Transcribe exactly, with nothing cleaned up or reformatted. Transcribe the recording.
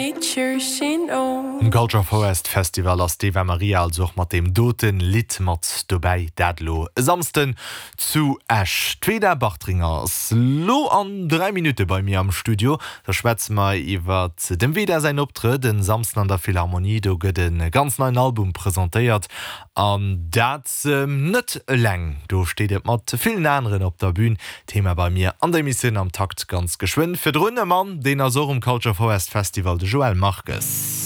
Nature, she knows. Um Culture Forest Festival ass d'Eva Marija also och mat deem doten Lidd mat dobäi, dat lo e Samsden zu Esch. D'Veda Bartringer ass lo an dräi Minutte bei mir am Studio. Da schwätze mer iwwer dem Veda säin Optrëtt den Samsden an der Philharmonie. Do gëtt e ganz neien Album presentéiert an dat net eleng. Do steet et mat villen aneren op der Bün. Thema bei mir an der Emissioun Am Takt ganz geschwënn. Virdrun e Mann, deen ass och um Culture Forest Festival, de Joël Marques.